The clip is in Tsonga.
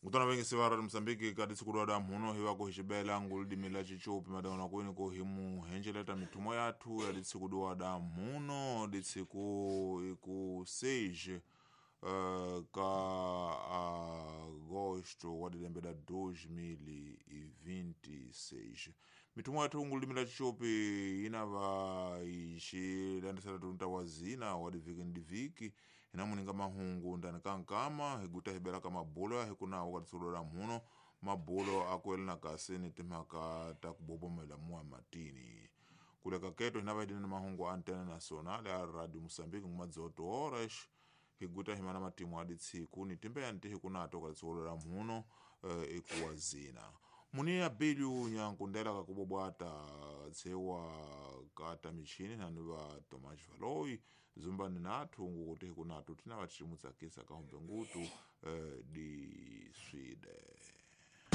Ngutana vengisi va Radio Mozambique ka disiku da mhuno hi va ku hi xibela nguludimi la chichupi madawona kwini ku hi muhenjeleta mithumo yathu ya disiku da mhuno disiku iku 6 ka agosto wa dilembe da 2026. Mithumo yathu nguludimi la chichupi yinava ixilandisela tunta wa zina wa divhiki ni divhiki hina muninga mahungu ndani ka nkama hi guta hi bela ka mabulo ya hi kunawo ka disiku da mhuno mabulo akuelana kasi ni timhaka ta ku bobomela muwa matini. Kuleka keto hina va ni mahungu antena nacional ya Radio Mozambique nguma dzoto horas hi guta hi mana matimu a ditsiku ni timbe ya ntihi kunato ka disiku la mhuno ikuwa zina. Muni ya bilyu nyankundela ka kubobwata tsewa kata michini nani va Tomas Valoi zumbani nathu ngukuti hi kunatu tina va timutsakisa ka humbe ngutu di swide.